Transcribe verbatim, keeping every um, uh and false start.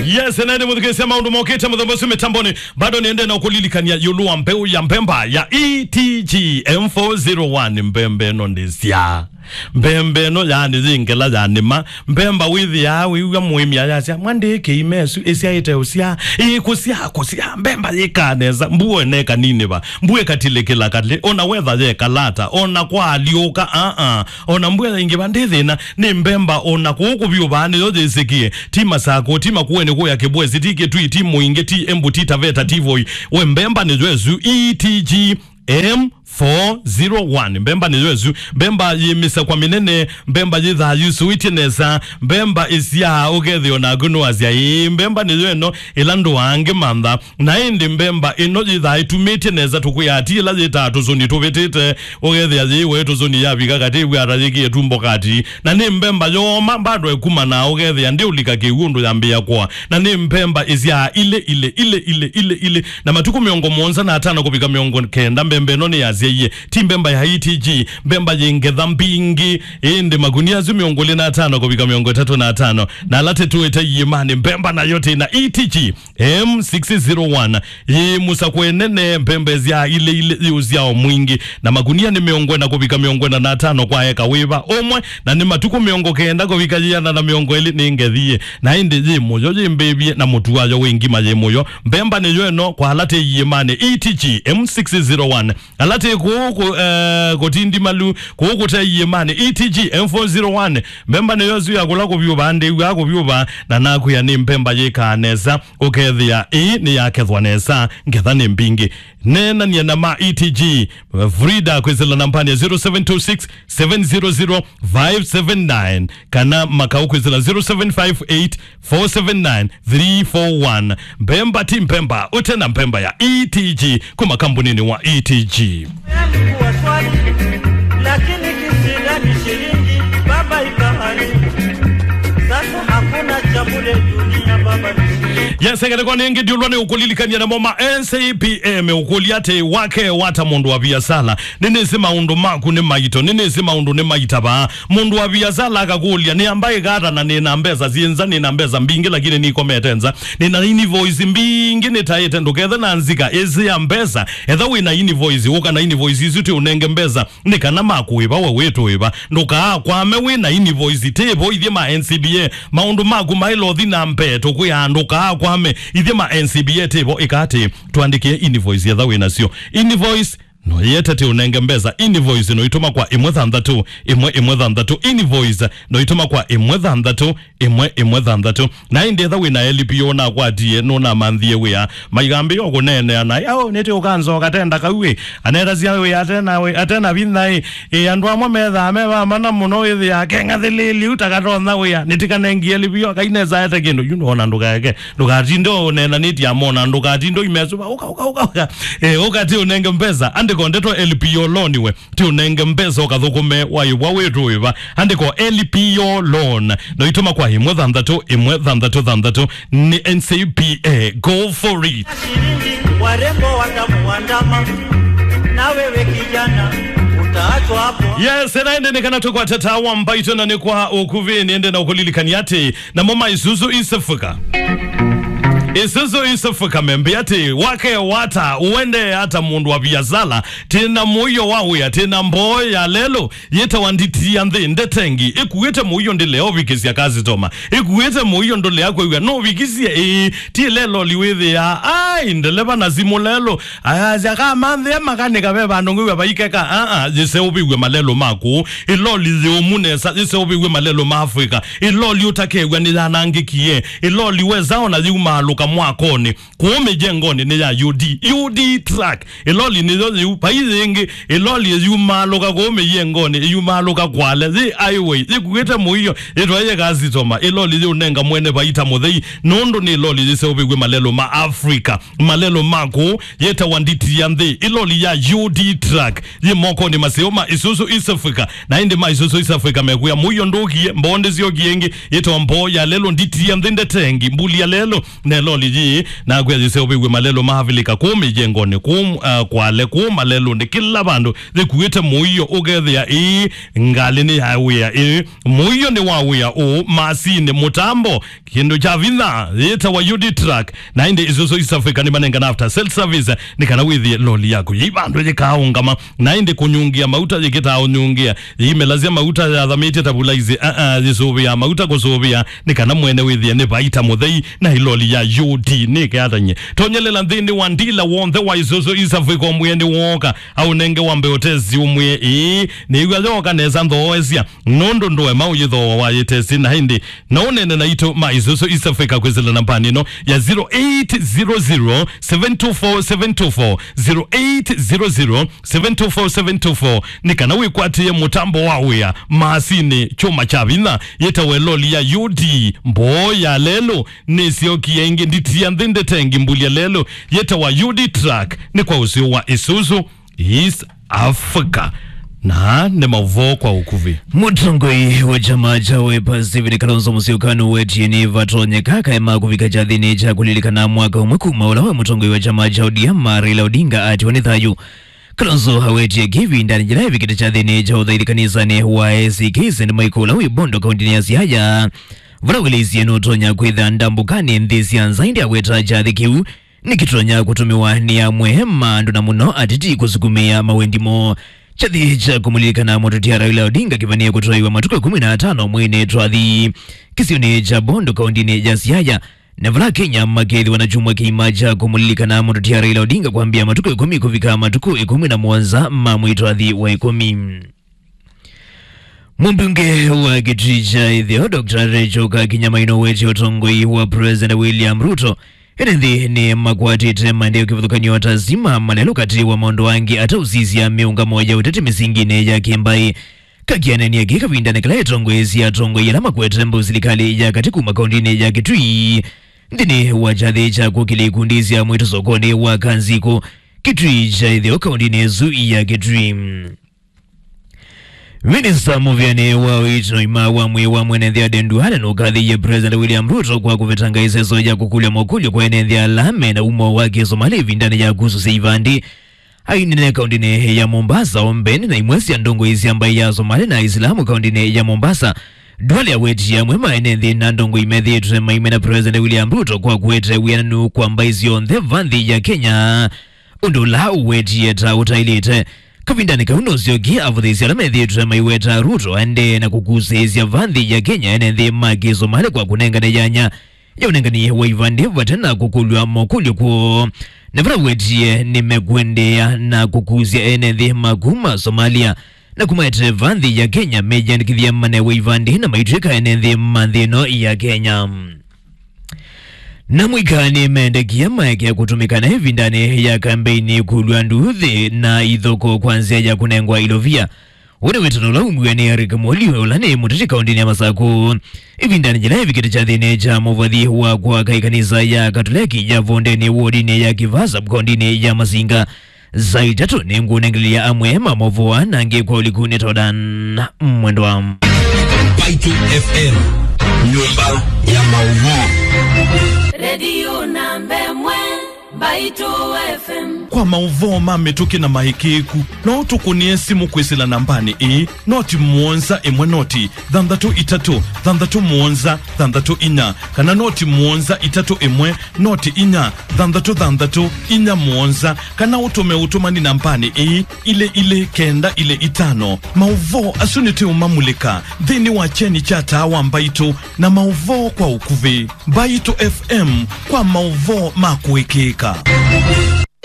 Yes, na ĩndĩ mũthikĩĩsya maũndũ mokĩte mũthemba ũsu mĩtambonĩ, bado nĩende na ũkũlilikania ĩũlũ wa mbeũ ya mbemba ya E T G M four zero one. Mbemba ĩno ndĩsya. Mbemba ĩno, yaani, yĩ ngela ya nĩma. Mbemba wĩthĩaa wĩw'a mũĩmi ayasya, "Mwa ndĩkĩime ĩsu, ĩsyaĩte ũsya, ĩkũsya, kũsya, mbemba yĩkaa nesa, mbua ĩneka nini va, mbua ĩkatilĩkĩla kalĩ, ona wetha yekalata, ona kwaalyũka, aa, ona mbua yaingĩva ndĩ thĩna, nĩ mbemba ona kũũ kũvyũvaa nĩyo yĩsĩkĩe, ti Masakũ, ti Makueni kũya Kĩbwesi, ti Kĩtui, ti Mũingĩ, ti Embu, ti Taveta, ti Voi, we mbemba nĩyo ĩsu, E T G M four zero one. Mbemba nĩyo ĩsu. Mbemba yĩ mĩsakwa mĩnene, mbemba yĩthaa yusũĩtye nesa, mbemba ĩsyaa ũkethĩa onaku nũasya, ĩĩ, mbemba nĩyo ĩno ĩla ndũaa ngĩmantha. Na ĩndĩ mbemba ĩno yĩthaa ĩtumĩtye nesa, tũkwĩaa ti ĩla yĩtaa tũsũni tũvĩtĩte, ũkethĩa yĩiwe tũsũni yavika katĩ ĩw'ata yĩkĩe tumbo kati. Na nĩ mbemba yooma, mbandwa ĩkumanaa ũkethĩa ndĩũlika kĩw'ũ ũndũ yambĩĩa kũa. Na nĩ mbemba ĩsyaa ilĩ, ilĩ, ilĩ, ilĩ, ilĩ, ilĩ, na matukũ mĩongo mũonza na atano kũvika mĩongo kenda, mbemba ĩno nĩyasyaie. Ti mbemba ya E T G, mbemba yĩ ngetha mbingĩ, ĩndĩ makunia asu mĩongo ĩlĩ na atano kũvika mĩongo ĩtatũ na atano. Na ala tĩtũĩte iĩmanĩ, mbemba nayo tĩ na E T G M six zero one, yĩ mũsakwe nene, mbemba ĩsyaa ilĩ, ilĩ, yĩ ũsyao mwingĩ, na makunia nĩ mĩongo ĩna kũvika mĩongo ĩna na atano kwa eka wĩva ũmwe, na nĩ matukũ mĩongo kenda kũvika yĩana na mĩongo ĩlĩ nĩ ngethie. Na ĩndĩ yĩ mũyo, yĩ mbĩvye, na mũtu wayo wĩ ngima, yĩ mũyo. Mbemba nĩyo ĩno kwa ala tĩ iĩmanĩ, E T G M six zero one. Ala tĩ kũũ kũ-, eh, kũtindimalu, kũũ kũte iĩmanĩ, E T G M four zero one. Mbemba nĩyo ĩsu ya kũla kũvyũva, ndĩw'aa kũvyũva, na nakwĩa nĩ mbemba yĩkaa nesa, ũkethĩa ĩĩ nĩyakethwa nesa, ngetha nĩ mbingĩ. Neenania na ma E T G, Frida kwĩsĩla nambanĩ ya zero seven two six, seven zero zero, five seven nine, kana Makau kwĩsĩla zero seven five eight, four seven nine, three four one. Mbemba ti mbemba ũte na mbemba ya E T G kuma kambuninĩ wa E T G. Yangu wa swali, lakini kisida ni shilingi, baba ikaharibu. Sasa hakuna cha bure dunia, baba ni shilingi. Yes, ngelekwa nĩngĩ ndiũlwa nĩ ũkũlilikania namo ma N C P M ũkũlya atĩ, wake wata mũndũ wa viasala? Nĩnĩsĩ maũndũ maku nĩ maito, nĩnĩsĩ maũndũ nĩ maitavaa. Mũndũ wa viasala akakũlya, "Nĩamba ĩkata na nĩna mbesa syĩ nza, nĩna mbesa mbingĩ, lakini nikomete nza. Nĩna invoice mbingĩ nĩtaĩte, ndũkethe na nzika ĩsĩ ya mbesa." Etha wĩna invoice, ũka na invoice isu tĩ ũnenge mbesa, nĩ kana makũĩva we wĩtũĩva. Ndũkaakwame wĩna invoice, tĩvo ithyĩ ma N C B A. Maũndũ maku maĩlothi na mbee, tũkwĩaa ndũkaakwame. Ithyĩ ma N C B A tĩvo, ĩka atĩ, twandĩkĩe invoice etha wĩnasyo. Invoice no yĩete tĩ ũnenge mbesa. Invoice no itũma kwa ĩmwe thanthatũ, ĩmwe ĩmwe thanthatũ. Invoice no itũma kwa ĩmwe thanthatũ, ĩmwe ĩmwe thanthatũ. Na ĩndĩ etha wĩna L P O ũnakwatie, nũnamanthie wĩa, maigambĩĩa kũneenea na, "Yaũ, nĩtĩ ũkanzoka tenda kau ĩ, anetasya wĩa atena wĩ, atena vinya ĩ." Ĩ, andũ amwe methaa me vamana mũno, wĩthĩaa keng'athĩlĩĩlye u takatonya wĩa, nĩtikanengie L P O, kainesa ete kĩndũ, yu nona ndũkaeke. Ndũkatinde ũneenanĩtye amona, ndũkatinde ũimesuva, "Ũka, ũka, ũka, ũka." Eh, ũka tĩ ũnenge mbesa, andĩko ndeto L P O loan we, tĩ ũnenge mbesa ũkathũkũme waĩvwa wĩtũĩva. Andĩko L P O loan, no itũma kwa ĩmwe thanthatũ, ĩmwe thanthatũ thanthatũ, nĩ N C B A. Go for it. Shilingi, warembo watamuandama, na wewe kijana, utaachwa hapo. Yes, na ĩndĩ nĩ kana tũkwate tawa mbaitũ na nĩ kwa ũkuvĩ, nĩende na ũkũlilikania atĩ, namo ma Isuzu East Africa. Isuzu East Africa membĩ atĩ, wake wata, ũendee ata mũndũ wa viasala, tĩna mũio wa wĩa, tĩna mboo ya lelũ, yĩtawa nditi ya nthĩ, ndetengi, ĩkuĩte mũio ndĩlea ũvikĩsya kasitoma, ĩkuĩte mũio ndũlea kwĩw'a nũvikisye, ĩĩ, ti leloli wĩthĩaa, ai, ndeleva na simũ lelũ, ayasya, "Kamanthĩa makanĩka ve vandũ ngwĩw'a vaikeka." Aa, yĩseũvĩw'e malelũ maku, ĩloli yĩũmu nesa, yĩseũvĩw'e malelũ ma Africa, ĩloli ũtakew'a nĩyanangĩkie, ĩloli wesa ona yĩumaalũka mwakonĩ, kũũ mĩjengonĩ nĩ ya U D, U D truck. Ĩloli nĩyo yĩu, vai yĩngĩ, ĩloli ĩyumaalũka kũũ mĩjengonĩ, ĩyumaalũka Kwale, yĩ highway, yĩkuĩte mũio, yĩtwaĩe kasitoma, ĩloli yĩũnenga mwene vaita mũthei, nũndũ nĩ ĩloli yĩseũvĩw'e malelũ ma Africa, malelũ ma kũũ, yĩtawa nditi ya nthĩ, ĩloli ya U D truck, yĩ mokonĩ maseo ma Isuzu East Africa, na ĩndĩ ma Isuzu East Africa mekwĩa mũio ndũkie, mboo ndĩsyokie ĩngĩ, yĩtawa mboo ya lelũ, nditi ya nthĩ, ndetengi, mbuli ya lelũ, nelo loli yĩĩ, na akwĩa yĩseũvĩw'e malelũ ma Avilika kũũ mĩyengonĩ, kũũ, uh, Kwale, kũũ malelũnĩ, kĩla vandũ yĩkuĩte mũio, ũkethĩa ĩĩ ngalĩ nĩ ya wĩa, ĩĩ mũio nĩ wa wĩa ũũ, masinĩ, mũtambo, kĩndũ kya vinya yĩtawa U D truck, na ĩndĩ Isuzu East Africa nĩmanengana after sales service, nĩ kana wĩthĩe loli yaku yĩ vandũ yĩkaũngama, na ĩndĩ kũnyungĩa mauta yĩkĩtaa ũnyungĩa, yĩimelasya mauta yathamĩtye ta vulaizi, aa, yĩsũvĩaa mauta kũsũvĩa, nĩ kana mwene wĩthĩe nĩ vaita mũthei, na ĩloli ya U D nĩkeatany'e. Tonyelela nthĩnĩ wa ndila w'onthe wa Isuzu East Africa ũmwĩe nĩ wooka, aũnenge wambe ũtesi ũmwĩe, ĩĩ, nĩw'a yooka nesa nthooesya, nũndũ ndũema ũyĩthooa wayĩtesi, na ĩndĩ no ũnene naitũ ma Isuzu East Africa kwĩsĩla nambanĩ ĩno ya zero eight zero zero, seven two four, seven two four, zero eight zero zero, seven two four, seven two four, nĩ kana wĩkwatĩe mũtambo wa wĩa, masinĩ, kyũma kya vinya, yĩtawa ĩloli ya U D, mboo ya lelũ, nĩsyokie ĩngĩ, nditia nthĩ ndetengi mbulya lelũ, yĩtawa U D truck, nĩ kwa ũseo wa Isuzu East Africa. Na nĩ maũvoo kwa ũkuvĩ. Mũtongoi wa kyama kya Wiper Stephen Kalonzo Musyoka nũwetie nĩ vatonyeka kaema kũvika kyathĩnĩ kya kũlilikana mwaka ũmwe kuma ũla we mũtongoi wa kyama kya O D M Raila Odinga atiwa nĩ thayũ. Kalonzo awetie kĩvindanĩ kĩla evikĩte kyathĩnĩ kya ũthaithi kanisanĩ wa A C K Saint Michael ũla wĩ Bondo kaũntĩnĩ ya Siaya, vala wĩlĩisye nũtonya kwĩtha ndambũkanĩ nthĩ sya nza, ĩndĩ aweta kyathĩ kĩu nĩkĩtonya kũtũmĩwa nĩ amwe ma andũ na mũno ateti kũsukumĩa mawendi moo. Kyathĩ kya kũmũlilikana mũteti Raila Odinga kĩvanĩe kũtoewa matukũ ĩkũmi na atano mweinĩ twathi kĩsionĩ kya Bondo kaũntĩnĩ ya Siaya, na vala Kenya makethĩwa na kyumwa kĩima kya kũmũlilikana mũteti Raila Odinga kwambĩa matukũ ĩkũmi kũvika matukũ ĩkũmi na mũonza ma mwei twathi wa ĩkũmi. Mũmbunge wa Kitui kya Ĩtheo, Doctor Rachel Kakinya Maina nũwetie ũtongoi wa President William Ruto ene nthĩ nĩmakwatĩte maendeeo kĩvathũkany'o ta stima, malelũ katĩ wa maũndũ angĩ, ataũsisya mĩũngamo ya ũteti mĩsinginĩ ya kĩmbaĩ. Kakinya anenie kĩĩ kavindanĩ kala etongoesye atongoi ala makwete mbau silikalĩ ya katĩ kuma kaũntĩnĩ ya Kitui nthĩnĩ wa kyathĩ kya kũkĩlya ikundi sya mwĩĩtu sokonĩ wa Kanzikũ, Kitui kya Ĩtheo, kaũntĩnĩ ĩsu ya Kitui. Minista mũvĩanĩ wa ũiiti na ũima wa mwĩĩ wa mwene nthĩ Aden Duale nũkathĩie President William Ruto kwa kũvetanga ĩseso ya kũkũlya mokũlyo kwa ene nthĩ ala me na umo wa kĩsomali ĩvindanĩ ya kũsũsya ivandĩ. Ainene kaũntĩnĩ ya Mombasa, o mbene na imwe sya ndongoi sya mbaĩ ya Somali na Aisilamu kaũntĩnĩ ya Mombasa, Duale awetie amwe ma ene nthĩ na ndongoi methĩĩtwe maimena President William Ruto kwa kũete wĩananu kwa mbaĩ syonthe va nthĩ ya Kenya, ũndũ ũla ũwetie ta ũtaĩlĩte. Kavindanĩ kau nũsyokie avũthĩĩsya ala methĩĩtwe maiweta Ruto aendee na kũkusĩĩsya va nthĩ ya Kenya ene nthĩ ma kĩsomali kwa kũnengane yanya ya ũnengani wa ivandĩ vate na kũkũlw'a mokũlyo kwoo. Na vala wetie nĩmekũendeea na kũkusya ene nthĩ ma kuma Somalia na kũmaetee va nthĩ ya Kenya meyĩandĩkĩthye manewe ivandĩ na maitw'ĩka ene nthĩ ma nthĩ ĩno ya Kenya. Na mũika nĩmendekie maekea kũtũmĩka na ĩvindanĩ ya kambeini kũlw'a nduthi na ithoko kwa nzĩa ya kũnengwa ilovia. Ũũ nĩ wĩtano ũla umw'e nĩ Eric Moli, ũla nĩ mũteti kaũntĩnĩ ya Masakũ. Ĩvindanĩ yĩla ĩvikĩte kyathĩnĩ kya mũvathi wa kwaka ĩkanisa ya Katoleki ya Vondeni wodinĩ ya Kĩvaa sub kaũntĩnĩ ya Masinga, saa itatũ nĩngũnengelelya amwe ma maũvoo na angĩ kwa ũliku nĩ Todan Mwendwa. Mbaitũ F M, nyũmba ya maũvoo. Redio namba ĩmwe. Mbaitũ F M. Kwa maũvoo ma mĩtũkĩ na maĩkĩĩku, no ũtũkũnĩe simũ kwĩsĩla nambanĩ ĩĩ, noti mũonza ĩmwe noti thanthatũ itatũ thanthatũ mũonza thanthatũ inya, kana noti mũonza itatũ ĩmwe noti inya thanthatũ thanthatũ inya mũonza, kana ũtũme ũtũmani nambanĩ ĩĩ, ilĩ ilĩ kenda ilĩ itano. Maũvoo asu nĩtũũmamulĩka nthĩnĩ wa kyeni kya Taa wa Mbaitũ na maũvoo kwa ũkuvĩ. Mbaitũ F M kwa maũvoo ma kũĩkĩĩka.